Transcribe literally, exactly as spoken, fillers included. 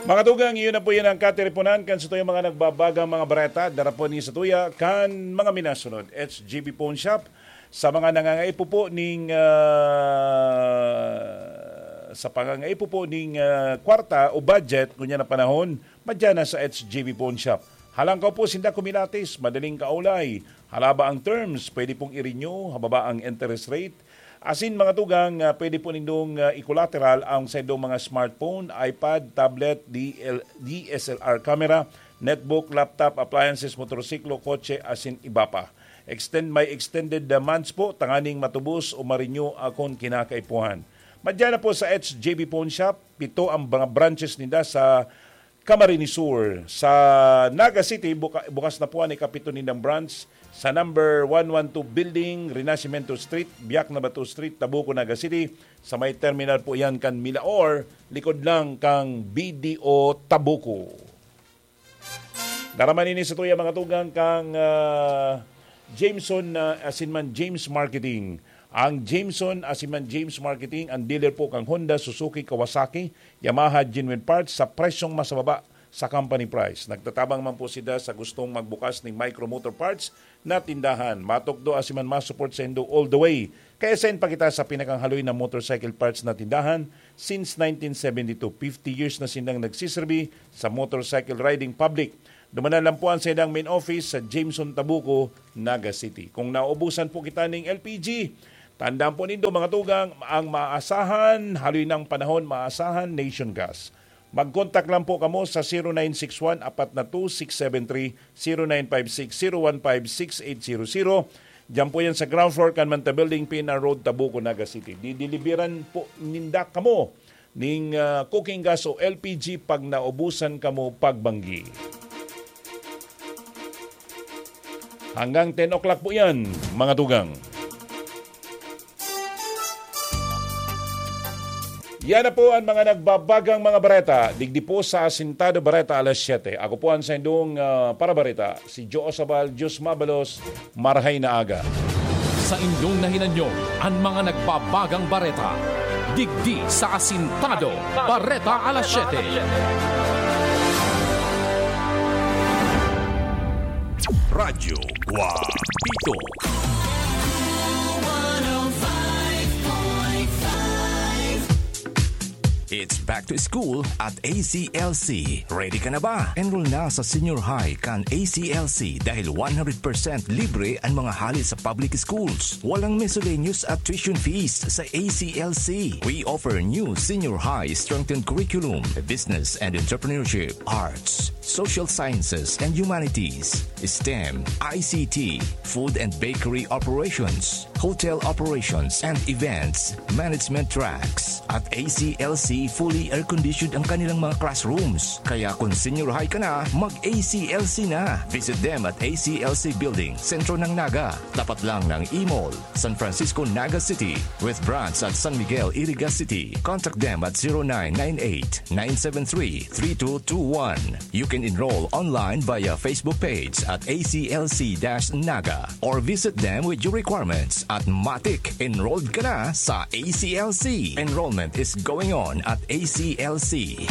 Mga tugang, iyon na po yan ang katiriponan kan sa tuyang mga nagbabagang mga bareta. Dara po ni sa tuya kan mga minasunod. H G B Pawn Shop, sa mga nangangaipo po ning, ah, sa pangangaipo po ning, ah, kwarta o budget, ngunyan na panahon, madyan na sa H G B Pawn Shop. Halangkaw po sinda kumilatis, madaling kaulay. Halaba ang terms, pwede pong i-renew, hababa ang interest rate. Asin mga tugang, ah, pwede po nindong, ah, i-collateral ang sa indong mga smartphone, iPad, tablet, D L, D S L R camera, netbook, laptop, appliances, motorsiklo, kotse, asin iba pa. Extend, may extended, ah, months po, tanganing matubos o ma-renew akon kinakaipuhan. Madyan na po sa H J B Pawn Shop, pito ang mga branches ninda sa Camarines Sur. Sa Naga City, buka-, bukas na po an ikapito nindang branch sa number one one two building, Renacimiento Street, Biak na Bato Street, Tabuco, Naga City. Sa may terminal po yan kan Milaor, likod lang kang B D O Tabuco. Dara man ini sa tuya mga tugang kang, ah, Jameson, ah, asin man James Marketing. Ang Jameson asin man James Marketing, ang dealer po kang Honda, Suzuki, Kawasaki, Yamaha, genuine parts sa presyong mas mababa sa company price. Nagtatabang man po sila sa gustong magbukas ning micro motor parts na tindahan. Matukdo asin man ma-support sa indo all the way. Kaya send pa kita sa pinakang haloy na motorcycle parts na tindahan since nineteen seventy-two. Fifty years na silang nagsiserbi sa motorcycle riding public. Dumanan lang po ang sa ilang main office sa Jameson, Tabuco, Naga City. Kung naubusan po kita ning L P G, tandaan po nindo, mga tugang, ang maasahan, haloy ng panahon, maasahan, Nation Gas. Mag-contact lang po kamo sa zero nine six one, apat na two, six seven three, zero nine five six, zero one five, six eight zero zero. Diyan po yan sa ground floor kan Manta Building, P N R Road, Tabuco, Naga City. Didilibiran po ninda kamo ning, ah, cooking gas o L P G pag naubusan kamo pagbanggi. Hanggang ten o'clock po yan, mga tugang. Yan na po ang mga nagbabagang mga bareta. Digdi po sa Asintado Bareta alas siyete. Ako po ang saindong, ah, parabareta, si Joe Osabal, Diyos mabalos, marahay na aga. Sa indong nahinanyo, ang mga nagbabagang bareta. Digdi sa Asintado Bareta alas siyete. Radyo Guapito. It's back to school at A C L C. Ready ka na ba? Enroll na sa senior high kan A C L C dahil one hundred percent libre ang mga hali sa public schools. Walang miscellaneous at tuition fees sa A C L C. We offer new senior high strengthened curriculum, business and entrepreneurship, arts, social sciences and humanities, STEM, I C T, food and bakery operations, hotel operations and events management tracks. At A C L C, fully air-conditioned ang kanilang mga classrooms. Kaya kung senior high ka na, mag-A C L C na. Visit them at A C L C Building, Sentro ng Naga, tapat lang ng E-Mall, San Francisco, Naga City, with branch at San Miguel, Iriga City. Contact them at zero nine nine eight, nine seven three, three two two one. You can enroll online via Facebook page at A C L C dash Naga or visit them with your requirements at Matik. Enrolled ka na sa A C L C. Enrollment is going on at A C L C.